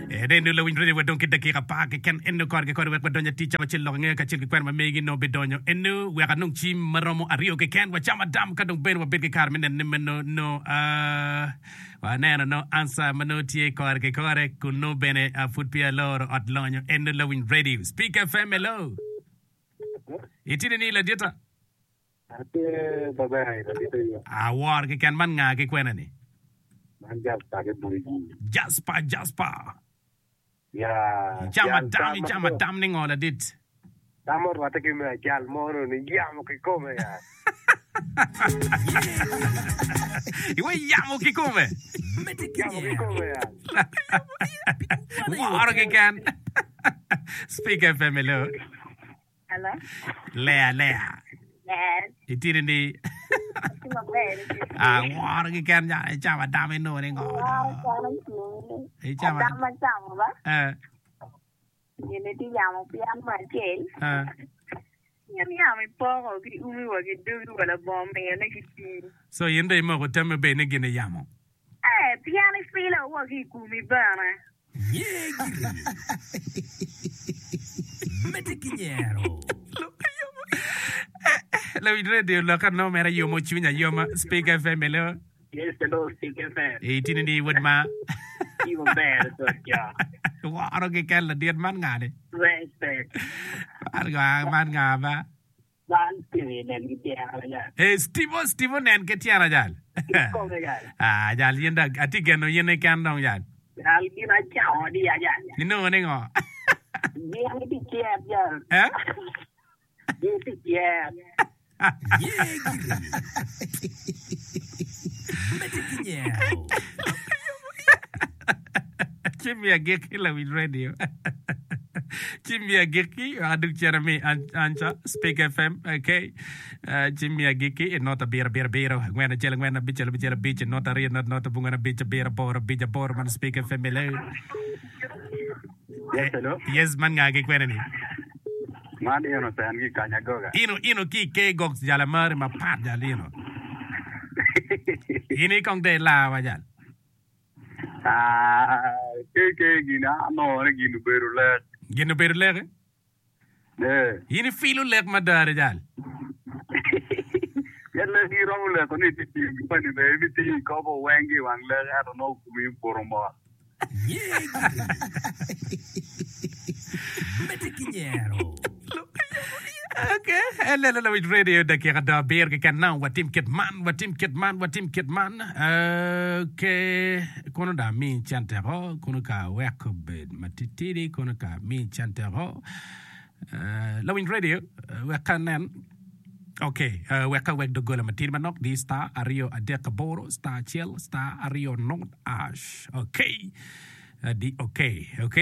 Eno lawiny radio wadong ki dakika apar keken eno kore ki kore wek wadony atic cawa acel lok angeya kacel ki kwena ma megi nongo bidonyo eno wek anong cim maromo aryo keken wacam adam ka dong bene wabed ki kare me neno ni meno nongo waneno nongo ansa ma nongo tye kore ki kore kun nongo bene pud peya aloro ot lonyo eno lawiny radio Speak FM hello itye ni ladita Atye maber ladit aye. Awor keken man nga ki kwena ni? Man Jasper ki Buriji. Jasper, Jasper. Ya. Icamo atam, icamo atam ni ngo ladit? Tam orwatte ki me ajal mo ni yamo kikome ya. Iwe yamo kikome. Yamo kikome ya. Woro keken. Speak FM hello. Hello. Lea lea. Yes. Itye ni Atye maber. Ah, woro keken ja icamo adam inongo ni ngo. Woro calo cwinyi. Icamo Adam acamo ba. Eh. Gin itye yamo pien mo acel. Eh. Gin yamo ipoko ki umi wa ki dogi wa labongo miyone ki pii. So in dong imoko tammi bed ni gin iyamo. Eh, pien ifilo wa ki i komi bene. Nye giri. Medde ki nyero. Lawiny radio loka no mere yomo cwiny ayoma Speak FM hello. Yes, hello, Speak FM. E itini ni wod ma. Tye maber sot jo. Woro keken ladit man ngani. Respect. Man nga man nga ba. Man Steve nen ki tyena jal. Ee Steve Steve onen ki tyena jal. Kikome jal. Ah jal in dong atye geno in keken dong jal. Jal gin acamo adiya jal. Inongo ni ngo? Gin gitye cet jal. Eh? Gin tye cet. Ye giri. Medde ki nyero. Ci mi agikki lawiny radio. Ci mi agikki wek adug cen ami anca Speak FM. Okay. Uh, ci mi agikki i not abiro abiro abiro angwen acel angwen abicel abicel abic not aryo not not abongwen abic abiro aboro abic aboro man Speak FM hello. Yes, hello. Yes, man nga ki kwene ni? Man Innocent ki Kanyagoga. Ino ino ki ke gok jala mari mapat jal ino. In ikong de ilawa jal. Ah, ke ke gin anongo ni gin obedo lek. Gin obedo lek? Eh. In ifilo lek mada jal. Pien lek iromo leko ni itye tiyo ki moni bene ibitiyo ikobo weng ki i wang lek ento nongo komi obuto mot. Ye giri. Medde ki nyero. Okay, elelo lawiny radio dakika do abiro keken now watim kit man watim kit man watim kit man okay kono dong ami cente ko kono ka wek obed matitidi kono ka ami cente ko Eh, lawiny radio eh, wek ka nen ok eh, wek ka wek doggola matidi manok di star aryo adek aboro star acel star aryo not ash ok Eh, di ok ok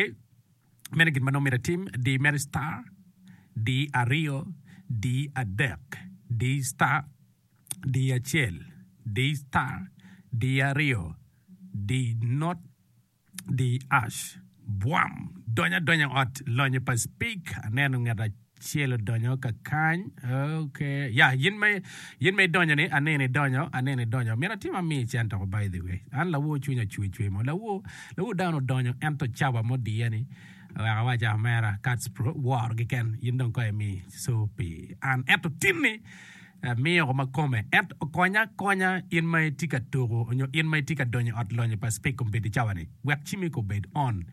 Meno gin ma nongo myero atim, di mere star, di aryo, di adek, di star, di acel, di star, di aryo, di not, di ash. Bwam! Donyo adonya i ot lonyo pa Speke. Aneno ngat acel odonyo kakany. Okay. Ya, yin ma yin ma idonyo ni, aneno idonyo, aneno idonyo. Myero atim ami cente oko by the way. An lawor cwinya cwer cwer mo. Lawor, lawor dano odonyo ento cawa mo diye ni wek awac omera Kats Pro woro keken yin dong kong imi so pi an. Ento tinni miyo oko ma kome. Ento konya akonya in ma itye ka tuku nyo in ma itye ka donyo i ot lonyo pa Speke kombeddi cawa ni wek cimi ko obed on.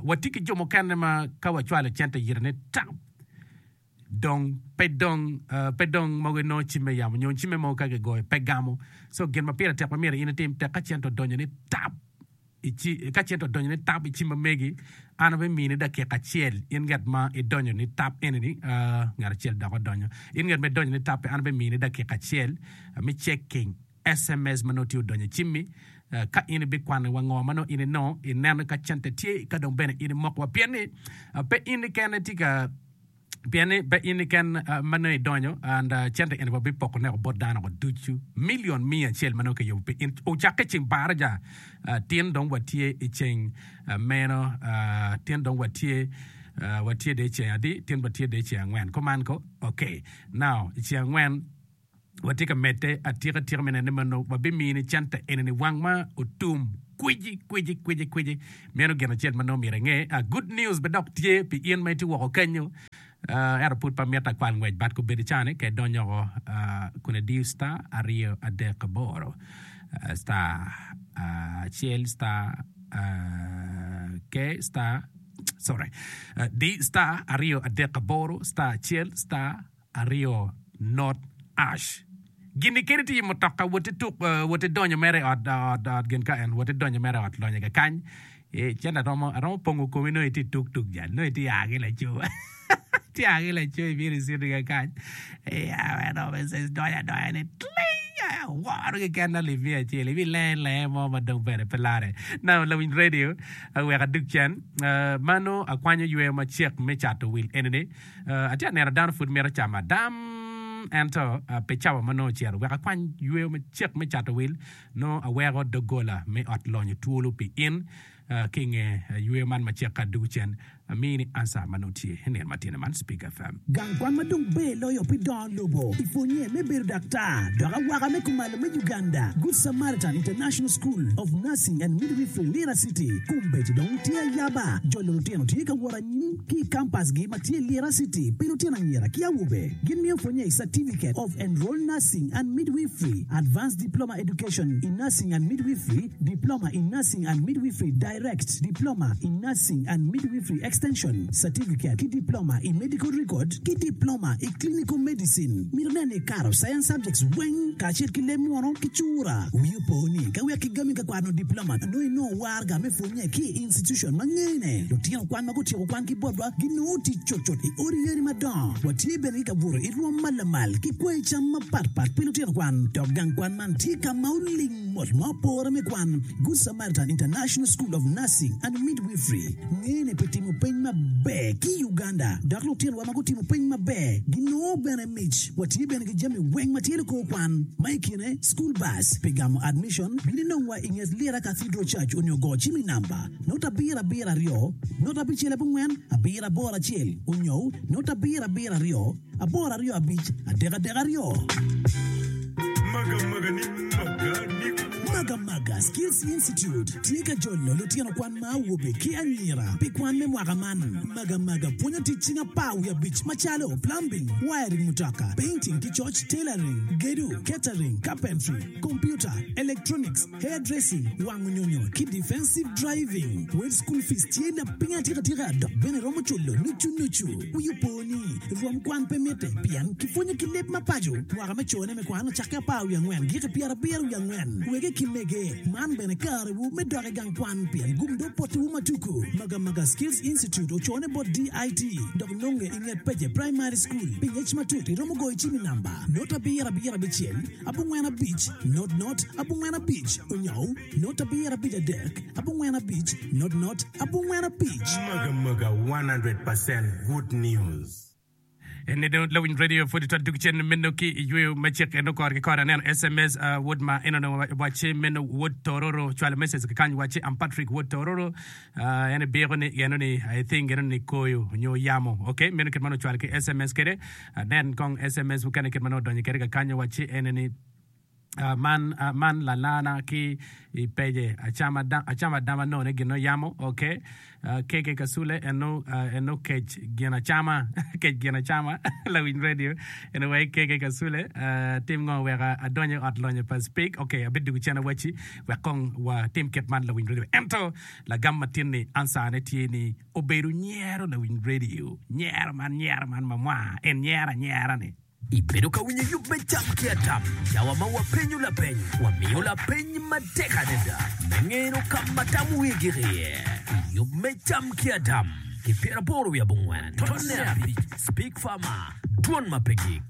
Watye ki jo mukene ma ka wacwalo cente yite ni tap dong pe dong pe dong mogo inongo cimme yamo nyo cimme mogo ka kigoyo pe gamo. So gin ma pire tek ma myero in itim tek ka cente odonyo ni tap i ka cente odonyo ni tap i cim ma megi an abimini dakika acel in ngat ma idonyo ni tap eni ni ngat acel dok odonyo in ngat ma idonyo ni tap-pi an abimini dakika acel me checking SMS ma nongo tye odonyo i cimmi ka in ibikwano wa ngo ma nongo in inongo ineno ka cente tye ka dong bene in imoko wa pien ni pe in keken itye ka pien ni pe in keken ma nongo idonyo and cente eni wabipoko neko bot dano ko ducu million miya acel ma nongo kiyubo pi in ocakke ceng baraja tin dong watye i ceng meno tin dong watye watye de ceng adi tin watye de ceng angwen kuman ko okay now i ceng angwen. Watye ka medde atika tika me nene meno wabimini cente enini wang ma otum kwici kwici kwici kwici. Meno gin acel ma nongo myero inge. Ah, good news bene dok tye pi in ma itye woko kenyo. Ah, ento pud pe amito akwal ngwec but kobedo cani ka idonyo oko ah, kun idiyo star aryo adek aboro ah, star ah, acel star ah, K star sorry ah, D star aryo adek aboro star acel star aryo not ash. Gin-ni kadi tye i mutoka wot ituk wot idonyo mere i ot ot ot gin ka en wot idonyo mere i ot lonyo kakany eh cente romo aromo pongo komi nongo itye tuk tuk jal nongo itye a ki laco itye a ki laco ibino iciti kakany eh donyo adonya ni tling aworo keken alip miya acel ibilenge lenge mo ma dong bene pe lare now lawiny radio wek adug cen mano akwanyo yweyo macek me cato wil enini Atye ka neno dano pud mito camo adam, ento pi cawa ma nongo ocito wek akwany yweyo macek me cato wil, nongo aweko doggola me ot lonyo twolo pi in. Ki i nge yweyo man macek ka adwogo cen, amini ansa ma nongo tye i nino matino man. Speak FM. Gang kwan ma dong ber loyo pi dongo lobo i pwonye me bedo daktar dok awaka me kumalo me Uganda, Good Samaritan International School of Nursing and Midwifery Lira City, kombeddi dong tye ayaba. Jolo lutino tye ka wot anyim ki i kampasgi ma tye i Lira City pi lutino anyira ki awobe. Gin miyo pwonye i Certificate of Enrolled Nursing and Midwifery, Advanced Diploma Education in Nursing and Midwifery, Diploma in Nursing and Midwifery Direct, Diploma in Nursing and Midwifery Extension, Certificate ki Diploma i Medical Record ki Diploma i Clinical Medicine. Mito nen ni ikato Science Subjects weng kacel ki leb munu ki cura. Wi opo ni ka wek kigami ka kwano Diploma nongo inongo waraga me pwonye ki i institution ma ngene. Lutino kwan ma gutyeko kwan ki botwa ginongo tic cutcut i odi yadi madongo. Watye bene ki kabuto i rwom ma lamal ki kwayi cam mapat pat pi lutino kwan. Dok gang kwan man tye ka ma oling mot ma opore me kwan. Good Samaritan International School of Nursing and Midwifery ngene pi timo peny maber ki i Uganda dok lutinowa ma gutimo peny maber ginongo bene mic. Watye bene ki jami weng ma tye likor kwan ma i kine school bus pi gamo admission. Bin inongwa i nget Lira Cathedral Church onyo go cim i namba not abiro abiro aryo not abicel abongwen abiro aboro acel onyo not abiro abiro aryo aboro aryo abic adek adek aryo. Magamaga Skills Institute tye ka jolo lutino kwan ma awobe ki anyira pi kwan me mwaka man. Magamaga pwonyo tic cing apar wiye abic macalo, plumbing, wiring mutoka, painting ki coc, tailoring, gedo, catering, carpentry, computer, electronics, hair dressing, wango nyonyo ki defensive driving. Wel school fees tye lapiny atika tika dok bene romo culo nucu nucu. Wi opo ni, rwom kwan pe mitte pien kipwonyo ki leb ma paco. Mwaka me cone me kwan ocakke apar wiye angwen giki pyerabiro wiye angwen. Wege ki mege, man bene karewu me dok i gang kwan pien gum dong potiwu ma tuku. Magamaga Skills Institute ocone bot DIT dok nonge i nget Pece Primary School. Pi ngec matut iromo goyo cim i namba not abiro abiro abicel abongwen abic not not abongwen abic onyo not abiro abic adek abongwen abic not not abongwen abic. Magamaga 100% good news. Eni dong lawiny radio pwod itwal dug cen meno ki i yweyo me cik eno kore ki kore aneno SMS uh, wod ma en onongo wacce meno wod tororo cwalo message ki kany wacce I'm Patrick wod tororo uh, en ibiko ni eno ni I think eno ni koyo nyo yamo okay meno kit ma onongo ocwalo ki SMS kede anen kong SMS mukene kit ma nongo odonyo kede kakanyo wacce ene ni Man man lalana ki i pece acama acama adama none gin no yamo ok keke kasule eno eno kec gin acama kec gin acama lawiny radio eno wai keke kasule tim ngo wek adony i ot lonyo pa speak ok abidugu cen awaci wek kong watim kit man lawiny radio ento lagam matin ni answer ne tye ni obedo nyero lawiny radio nyero man nyero man mamwa en nyero anyera ni. Ibedo ka winyo yub me Cam ki Adam, cawa ma wapenyo lapeny, wamiyo lapeny matek adada me ngeno ka ma tam wiye gik iye. I yub me Cam ki Adam, ki pyeraboro wiye abongwen, tonne abic, Speak Farmer, Dwon ma pe gik.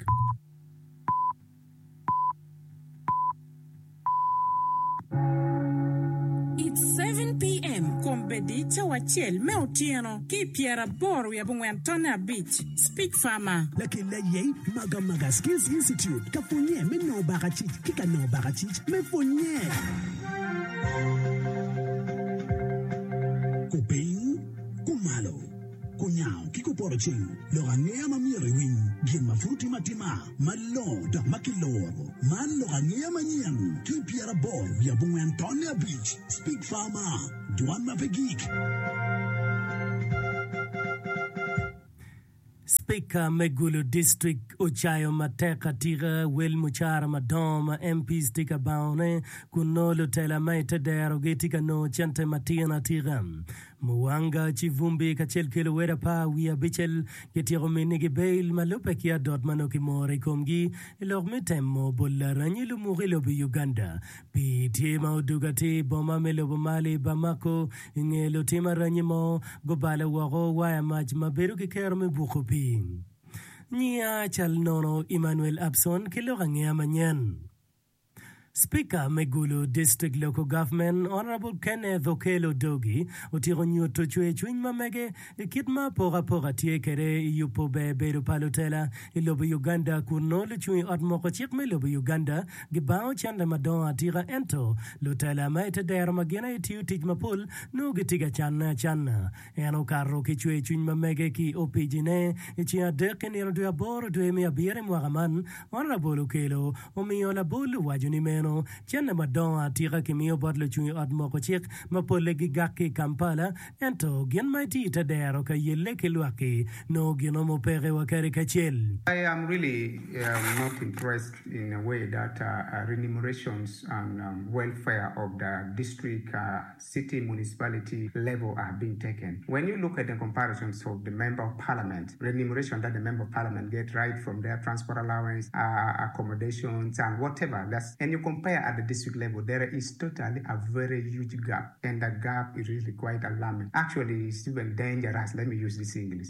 It's 7PM, Kombeddi cawa acel me otyeno ki i pyeraboro wiye abongwen tonne abic. Speak Farmer. Lakel aye Magamaga Skills Institute ka pwonye me nongo bakacic ki ka nongo bakacic me pwonye. Kupiny, kumalo, kunyango ki kupoto. poto ceng, lok angeya ma myero iwiny, gin ma pud otime atima, malongo dok ma kiloro. Man lok angeya manyen ki i 84 tonne abic, Speak Farmer, dwan ma pe gik. Spika me Gulu District ocayo matek atika wel mucara madongo ma MPs tye ka bangone kun nongo lutela ma ite derogi tye ka nongo cente matin atika. Muwanga, Civumbi kacel ki luwed apar wiye abicel kityeko minigi bail ma lubbe ki adot ma nongo kimoro i komgi i lok me temo bolo aranyi lumuku i lobo Uganda. Pii tye ma odugo atir i boma me lobo Mali, Bamako, i nge lutim aranyi mo gubalo woko waya mac ma bedo ki kero me buko pii. Nyiya cal nono Emmanuel Abson ki lok angeya manyen. Speaker me Gulu District Local Government, Honourable Kenneth Okello Odogi otyeko nyuto cwer cwiny ma mege i kit ma apokapoka tye kwede i yubo ber bedo pa lutela i lobo Uganda kun nongo lucung i ot moko cik me lobo Uganda gibango cente madongo atika ento lutela ma ite dero ma gin aye tiyo tic mapol nongo gitye ka canne acanna. En okato ki cwer cwiny ma mege ki i opijine i ceng adek i nino dwe aboro dwe me abiro i mwaka man. Honourable Okello omiyo labol owaco ni meno cente madongo atika kimiyo bot lucung i ot moko cik ma polle gigak ki i Kampala ento gin ma itye i te dero ka yelle ki lwak-ki nongo ginomo peke wa kadi kacel. I am really not impressed in a way that remunerations and welfare of the district city municipality level are being taken. When you look at the comparisons of the member of parliament, remuneration that the member of parliament get right from their transport allowance, accommodations and whatever, that's, and you compare at the district level, there is totally a very huge gap and the gap is really quite alarming. Actually, it's even dangerous, let me use this English.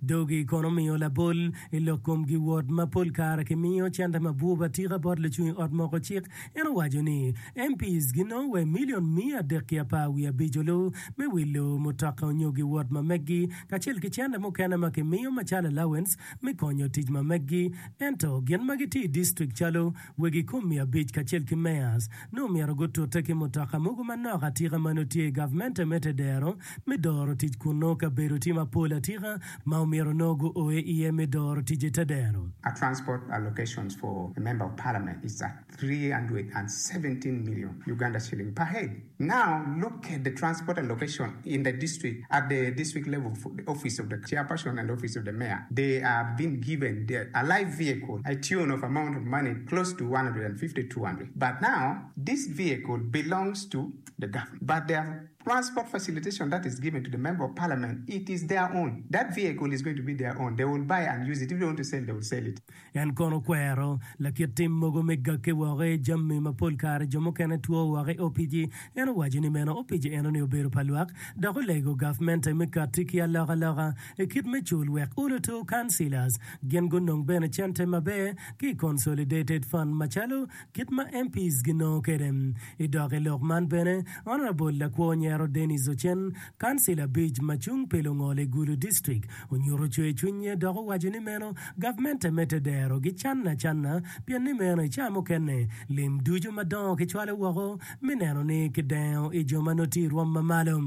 Dogi kono omiyo labol i lok kom giwot ma pol kare kimiyo cente mabwub atika bot lucung i ot moko cik. En owaco ni MPs ginongo wa i milion miya adek ki apar wiye abic olu me wilo mutoka onyo giwot ma meggi kacel ki cente mukene ma kimiyo macalo allowance me konyo tic ma meggi. Ento gin ma gitye i distrik calo wegi kom abic kacel ki mayors nongo myero gutute ki mutoka mogo manok atika ma nongo tye i gavmente me tedero me doro tic kun nongo kabedo tye mapol atika ma omyero nongo guoe iye me doro tic i tedero. A transport allocations for a member of parliament is at 317 million Uganda shilling per head. Now look at the transport allocation in the district at the district level for the office of the chairperson and office of the mayor they are been given the a live vehicle a tune of amount of money close to 150 200 but now this vehicle belongs to the government but their transport facilitation that is given to the member of parliament it is their own that vehicle is going to be their own they will buy and use it if they want to sell they will sell it. En kono okwero lakit tim mogo me gakke woko i jami ma pol kare jo mukene two woko i opici. En owaco ni meno opici enoni obedo pa lwak dok olego gavmente me katti ki alokaloka i kit me cul wek oluto councillors gin gunong bene cente maber ki i Consolidated Fund macalo kit ma MPs ginongo kwede. I dok i lok man bene, Honourable Lakwo Nyero Denis Ocen, Kancil abic ma cung pi lungol i Gulu District onyuto cwer cwinye dok owaco ni meno gavmente me tedero gicanne acanna pien ni meno i caa mukene lim ducu madongo kicwalo woko me neno ni kidengo i jo ma nongo tye i rwom ma malo.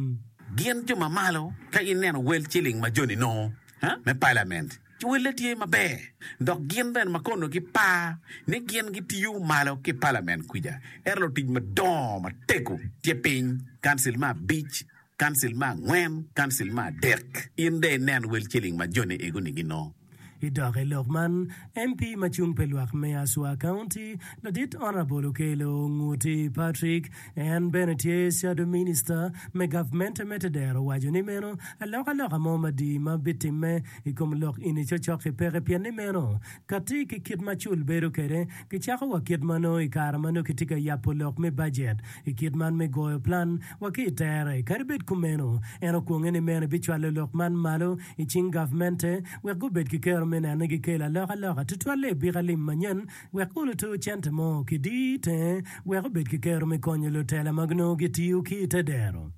Gin jo ma malo ka ineno wel ciling ma joni nongo me palament ci welle tye maber dok gin bene ma kono gipar ni gin gitiyo malo ki palament kwica ento lutic madongo matego tye piny kancil me abic Kancil me angwen, kancil me adek. In dong inen wel ciling ma joni ego-ni ginongo. I dok i lok man, MP ma cung pi lwak me Aswa County, Ladit Honourable Okello Nguti Patrick, en bene tye Shadow Minister me gavmente me tedero owaco ni meno alokaloka mo madii ma bitimme i kom lok eni cocok-ki peke pien ni meno kati ki kit ma cul bedo kwede kicako wa kit ma nongo i kare ma nongo kitye ka yabo lok me bajet i kit man me goyo plan wa ki i tere. Kadi bed kumeno, en okwonge ni meno ebicwalo lok man malo i cing gavmente wek gubed ki kero me neno ni gikelo alokaloka tutwalle i bika lim manyen wek oluto cente mo kidii tenge wek obed ki kero me konyo lutela ma nongo gitiyo ki i te dero.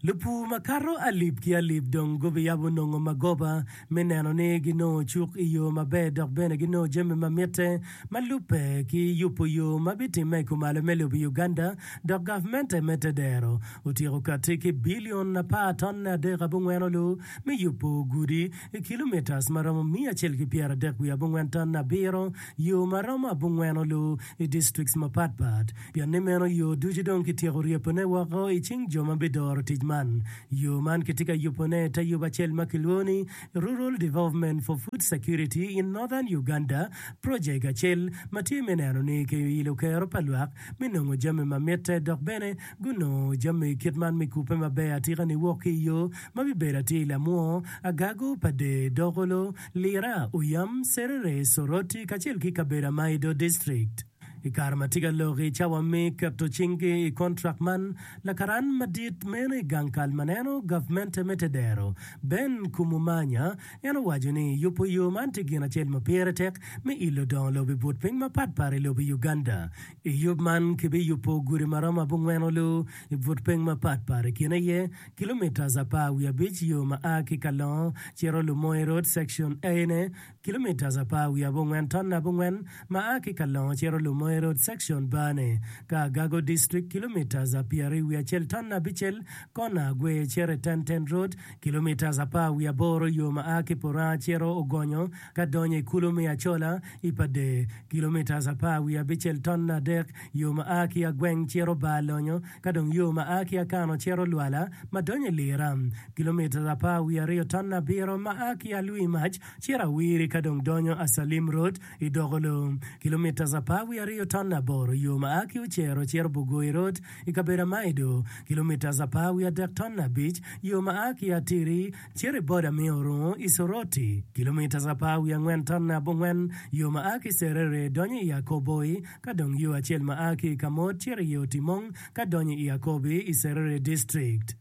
Lupur makato alip ki alip dong gubiyabo nongo magoba me neno ni ginongo cuk i yo maber dok bene ginongo jami ma mitte ma lubbe ki yubo yo ma bitimme i kumalo me lobo Uganda dok gavmente me tedero otyeko katti ki bilion apar tonne adek abongwen olu me yubo gudi i kilomitas ma romo miya acel ki pyeradek wiye abongwen tonne abiro yo ma romo abongwen olu i districts mapat pat. Pien ni meno yo ducu dong kityeko ryebone woko i cing jo ma bidoro tic man. Yo man kitye ka yubone i te yub acel ma kilwongo ni Rural Development for Food Security in Northern Uganda Project acel ma tye me neno ni kiilo kero pa lwak me nongo jami ma mitte dok bene gunongo jami kit man me kubbe maber atika niwok ki i yo ma bibedo atir i Lamwo, Agago, Pader, Dokolo, Lira, Oyam, Serere, Soroti kacel ki kabedo Amaido District. I kare ma tye ka lok i cawa me keto cinggi i kontrak man, lakaran madit meno i gang kal ma neno gavmente me tedero, Ben Kumumanya, en owaco ni yubo yo man tye gin acel ma pire tek me ilo dongo lobo i but piny mapat pat i lobo Uganda. I yub man kibiyubo gudi ma romo abongwen olu i but piny mapat pat i kine aye kilomitas apar wiye abic yo ma a ki Kalongo cito Lumoe Road Section A-ne, Kilomitas apar wiye abongwen tonne abongwen ma a ki Kalongo cito Lumoe Road Section Bane ka Agago District, kilomitas pyeraryo wiye acel tonne abicel kona Agwe cito i Ten Ten Road, kilomitas apar wiye aboro yo ma a ki Puranga cito Ogonyo ka donyo i kulu me Acola i Pader, kilomitas apar wiye abicel tonne adek yo ma a ki Agweng cito Bar Lonyo ka dong yo ma a ki Akano cito Lwala ma donyo i Lira, kilomitas apar wiye aryo tonne abiro ma a ki Alwi Mac Cito awiri ka dong donyo Acalim Road i Dokolo, kilomitas apar wiye aryo tonne aboro, yo ma a ki Ocero cito Bugoi Road i kabedo Amaido, kilomitas apar wiye adek tonne abic, yo ma a ki Atiri cito i boda me Orungo i Soroti, kilomitas apar wiye angwen tonne abongwen, yo ma a ki Serere donyo i Akoboi, ka dong yo acel ma a ki i Kamot cito i Otimong ka donyo i Akobi i Serere District.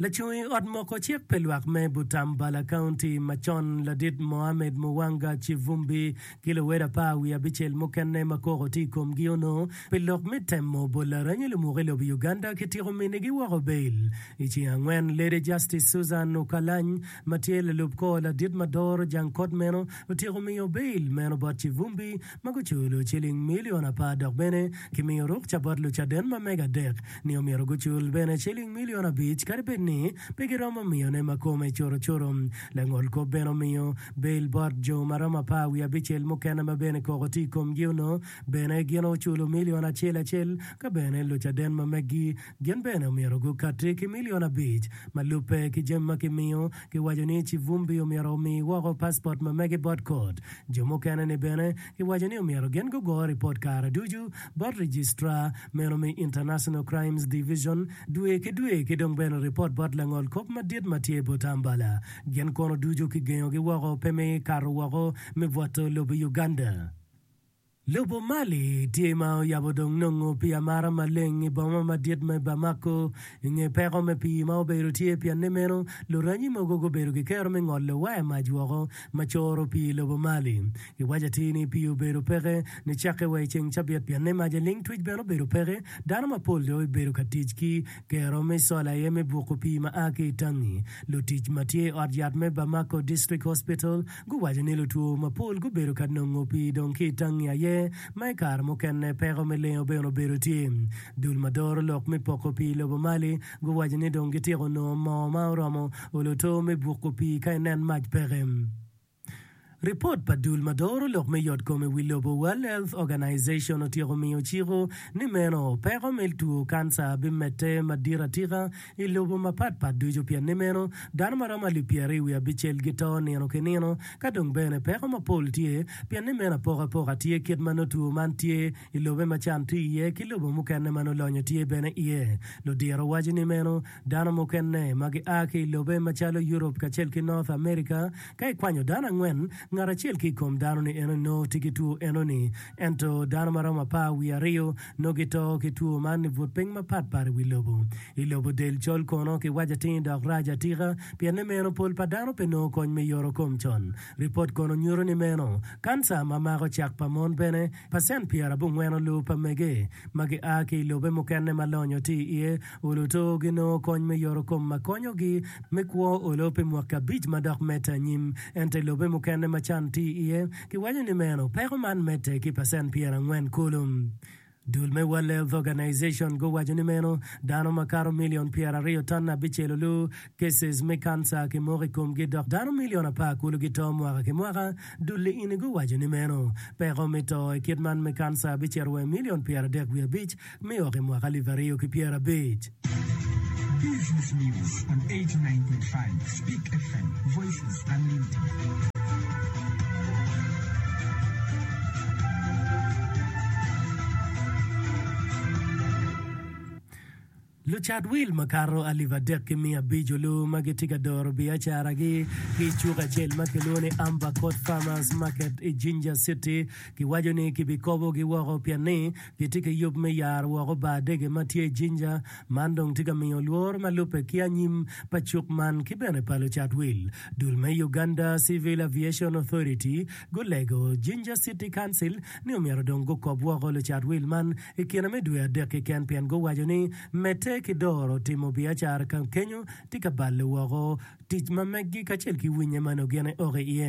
Lacung i ot moko cik pi lwak me Butambala County macon ladit Mohammed Muwanga Kivumbi ki luwed apar wiye abicel mukene ma koko tye i komgi onongo pi lok me temo bolo aranyi lumuk i lobo Uganda kityeko minigi woko bail i ceng angwen. Lady Justice Susan Okalany ma tye lalub kor ladit ma doro jang kot meno otyeko miyo bail meno bot Kivumbi ma guculo ciling milion apar dok bene kimiyo rukca bot lucaden ma mege adek ni omyero gucul bene ciling milion abic kadi bed ni pe giromo miyone ma kome curocuro. Langol kop bene omiyo bail bot jo ma romo apar wiye abicel mukene ma bene koko tye i komgi onongo bene gin oculo milion acel acel ka bene lucaden ma meggi gin bene omyero gukati ki milion abic. Ma lubbe ki jami ma kimiyo, kiwaco ni Civumbi omyero omi woko passport ma mege bot kot. Jo mukene ni bene kiwaco ni omyero gin gugo ripot kare ducu bot Registrar meno me International Crimes Division dwe ki dwe ki dong bene ripot bot langol kop madit ma tye Butambala. Gin kono ducu kigengogi woko pe me kato woko me bwoto lobo Uganda. Lobo Mali tye ma oyabo dong nongo pii amara maleng i boma madit me Bamako i nge peko me pii ma obedo tye pien ni meno luranyi mogo gubedo ki kero me ngolo waya mac woko ma coro pii i lobo Mali. Giwaco atir ni pii obedo peke nicakke wa i ceng cabit pien ni mac aling twic bene obedo peke. Dano mapol dong obedo ka tic ki kero me cola aye me buko pii ma a ki i tangi. Lutic ma tye i ot yat me Bamako District Hospital guwaco ni lutwo mapol gubedo ka nongo pii dong ki i tangi aye ma i kare mukene peko me lengo bene obedo tye. Dul ma doro lok me poko pii i lobo Mali guwaco ni dong gityeko nongo moo ma oromo olo to me buko pii ka inen mac peke. Ripot pa dul ma doro lok me yotkom i wi lobo, World Health Organization, otyeko miyo ciko ni meno peko me two kanca bimedde madit atika i lobo mapat pat ducu pien ni meno dano ma romo alip pyeraryo wiye abicel gito nino ki nino ka dong bene peko mapol tye pien ni meno apokapoka tye kit ma nongo two man tye i lobe ma can tye iye ki lobo mukene ma nongo lonyo tye bene iye. Ludiro waco ni meno Dano mukene ma gia ki i lobe macalo Europe kacel ki North America, ka ikwanyo dano angwen, Ngat acel ki i kom dano-ni eno nongo tye ki two eno-ni. Ento dano ma romo apar wiye aryo nongo gito ki two man i but piny mapat pat i wi lobo. I lobo del col kono kiwaco atir dok rac atika pien ni meno pol pa dano pe nongo kony me yoto kom con. Ripot kono nyuto ni meno kanca ma mako cak pa mon bene pacent pyerabongwen olu pa mege ma gia ki i lobe mukene ma lonyo tye iye oluto ginongo kony me yoto kom ma konyogi me kwo olo pi mwaki abic ma dok medde anyim. Ento i lobe mukene ma can tye iye, kiwaco ni meno peko man medde ki pacent 40 kulu. Dul me World Health Organization guwaco ni meno dano makato milion 20 ton abicel olu cases me kanca kimoko i komgi dok dano milion apar kulu gito mwaka ki mwaka. Dul-li ini guwaco ni meno peko me to i kit man me kanca bicito wa i milion 35 me ok i mwaka 2050. Business News on 89.5 Speak FM, Voices Unlimited. Lucat wil makato alip 3500 olu ma gitye ka doro biacaragi ki i cuk acel ma kilwongo ni Amber Court Farmers Market i Jinja City giwaco ni kibikobogi woko pien ni Gitye ki yub me yaro woko bar dege ma tye i Jinja. Man dong tye ka miyo lworo ma lubbe ki anyim pa cuk man ki bene pa lucat wil. Dul me Uganda Civil Aviation Authority gulego Jinja City Council ni omyero dong gukob woko lucat wil man i kine me dwe adek keken pien guwaco ni medde ki doro timo biacara ka kenyo tye ka balo woko Tic ma meggi kacel ki winye ma nongo gin eoko iye.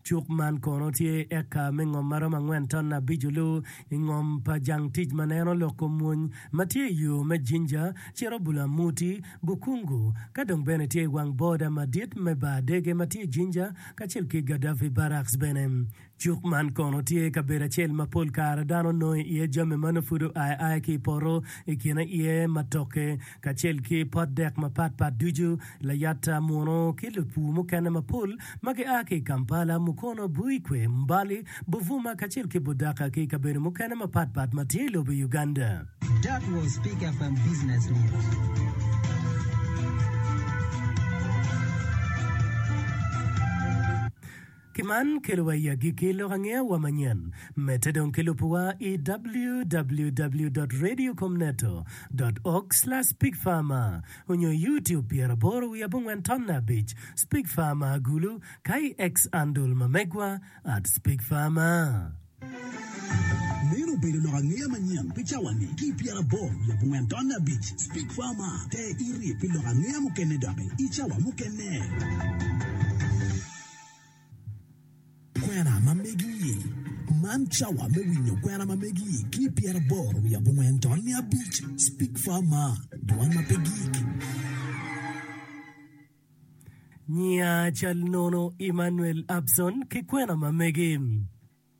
Cuk man kono tye eka me ngom ma romo angwen ton abic olu i ngom pa jang tic ma neno lok kom mwony ma tye i yo me Jinja cito Bulamuti, Bukungu ka dong bene tye i wang boda madit me bar dege ma tye i Jinja kacel ki Gaddafi Barracks bene. Cuk man kono tye kabedo acel ma pol kare dano nongo iye jami ma nongo pud oa aya ki i poto, i kine iye matoke kacel ki pot dek mapatpat ducu, layata muno ki lupur mukene mapol ma gia ki i Kampala, Mukono, Buikwe, Mbale, Buvuma kacel ki Budaka ki i kabedo mukene mapatpat ma tye i lobo Uganda. That was Speak FM Business News. Ki man kelowa i agikki lok angeyawa manyen. Medde dong ki lubowa i www dot radiocomneto dot org slash speakfarmer onyo i YouTube 80 wiye abongwen tonne abic Speak Farmer Agulu ka i X andle ma megwa at speakfarmer. Meno obedo lok angeya manyen pi cawa-ni ki i 80 wiye abongwen tonne abic Speak Farmer Te iri pi lok angeya mukene doki i cawa mukene. Kwena ma megi. Man cawa me winyo kwena ma megi ki i 84 tonne abic Speak Far Ma, Dwan ma pe gik. Nyiya cal nono Emmanuel Abson ki kwena ma megi.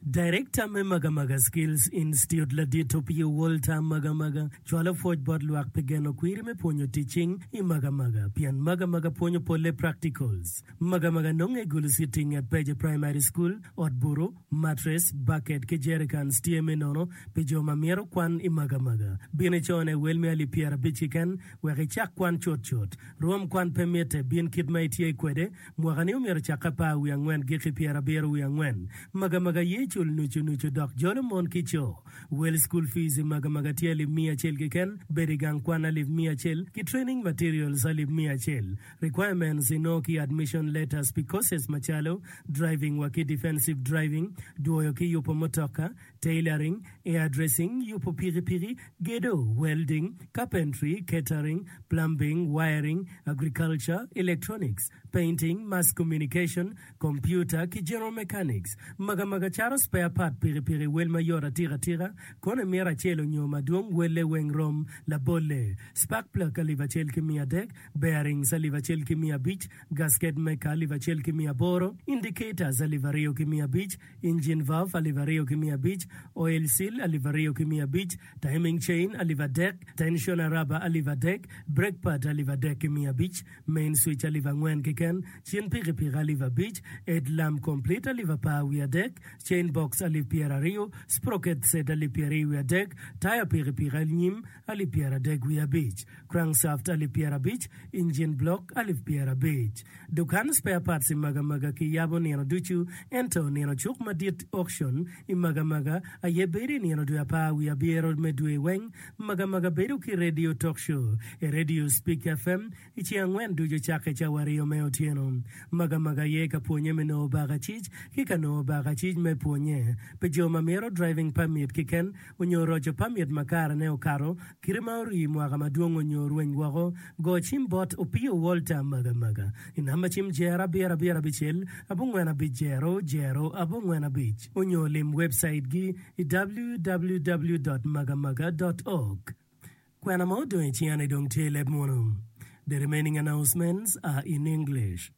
Darekta me Magamaga Skills Institute Ladit Opiyo Walter Magamaga cwalo pwoc bot lwak pi geno kwiri me pwonyo tic cing i Magamaga pien Magamaga pwonyo polle practicals. Magamaga nonge i Gulu City nget Peje Primary School, ot buto, mattress, bucket ki jerrycans tye me nono pi jo ma mito kwan i Magamaga. Bin icone wel me alip 50 keken wek icak kwan cutcut. Rwom kwan pe mitte, bin kit ma itye kwede. Mwaka-ni omyero ocakke apar wiye angwen giki pyerabiro wiye angwen. Magamaga ye cul nucu nucu dok jolo mon ki co. Wel school fees i Magamaga tye alip miya acel keken, bedo i gang kwan alip miya acel, ki training materials alip miya acel. Requirements inongo ki admission letters pi courses macalo, driving wa ki defensive driving, dwoyo ki yubo mutoka, tailoring, hairdressing, yubo pikipiki, gedo, welding, carpentry, catering, plumbing, wiring, agriculture, electronics, painting, mass communication, computer, ki general mechanics. Magamaga caro spare part pikipiki wel mayot atika atika, kono imito acel onyo madwong welle weng rom. Labolle, spark plug 1300, bearings 1500, gasket maker 1800, indicators 2500, Engine valve 2500, Oil seal alip aryo ki 500, timing chain alip adek, tensioner rubber alip adek, brake pad alip adek ki 500, main switch alip angwen keken, cin pikipiki alip abic, head lamp complete alip apar wiye adek, chain box alip pyeraryo, sprocket set alip pyeraryo wiye adek, taya pikipiki anyim alip pyeradek wiye abic, crankshaft alip pyerabic, engine block alip pyerabic. Dukan spare parts i Magamaga kiyabo nino ducu, ento nino cuk madit, auction, i Magamaga aye bedo i nino dwe apar wiye abiro me dwe weng. Magamaga bedo ki radio talk show i radio Speak FM i ceng angwen ducu cakke cawa aryo me otyeno. Magamaga aye ka pwonye me nongo bakacic ki ka nongo bakacic me pwonye pi jo ma mito driving permit keken onyo roco permit ma karene okato, kite ma orii mwaka madwong onyo orweny woko. Go cim bot Opiyo Walter Magamaga i namba cim jero abiro abiro abicel abongwen abic jero jero abongwen abic onyo lim webcait gi i www dot magamaga dot org. Kwena ma odong i cinga-ni dong tye i leb munu. The remaining announcements are in English.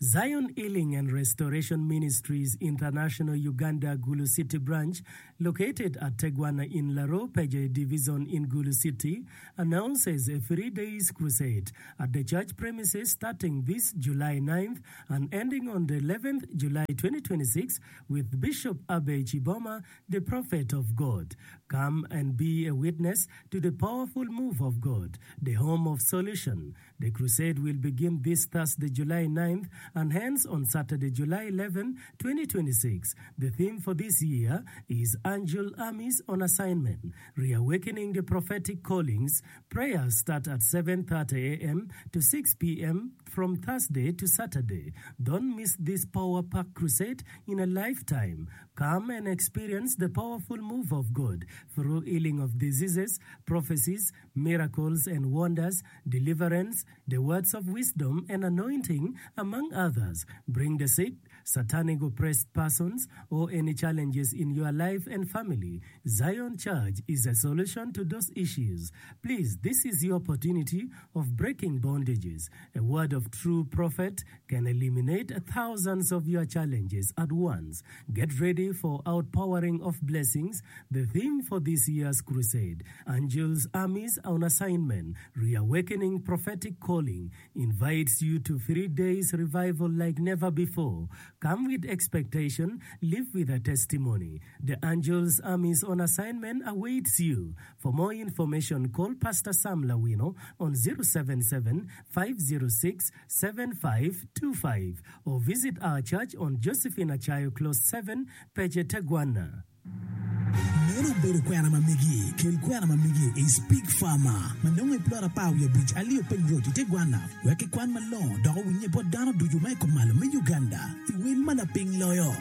Zion Healing and Restoration Ministries International Uganda Gulu City Branch located at Tegwana in Laro Peje Division in Gulu City announces a three days crusade at the church premises starting this July 9th and ending on the 11th July 2026 with Bishop Abbey Chiboma the prophet of God. Come and be a witness to the powerful move of God, the home of solution. The crusade will begin this Thursday, July 9th and ends on Saturday, July 11, 2026. The theme for this year is Angel Armies on Assignment, Reawakening the Prophetic Callings. Prayers start at 7:30 a.m. to 6 p.m. from Thursday to Saturday. Don't miss this power pack crusade in a lifetime. Come and experience the powerful move of God through healing of diseases, prophecies, miracles and wonders, deliverance, the words of wisdom and anointing, among others. Bring the sick, satanic oppressed persons, or any challenges in your life and family. Zion Church is a solution to those issues. Please, this is your opportunity of breaking bondages. A word of true prophet can eliminate thousands of your challenges at once. Get ready for outpouring of blessings, the theme for this year's crusade. Angels Armies on Assignment, Reawakening Prophetic Calling, invites you to three days revival like never before. Come with expectation, live with a testimony. The Angels Armies on Assignment awaits you. For more information, call Pastor Sam Lawino on 077 506 7525 or visit our church on Josephine Achayo Close 7, Pece Tegwanna. Meno obedo kwena ma megi. Kel kwena ma megi i Speak Farmer ma nongo i plot apar wiye abic Aliyo Piny Road i Tegwanna wek kikwan malongo dok owinnye bot dano ducu ma i kumalo me Uganda i wel ma lapiny loyo.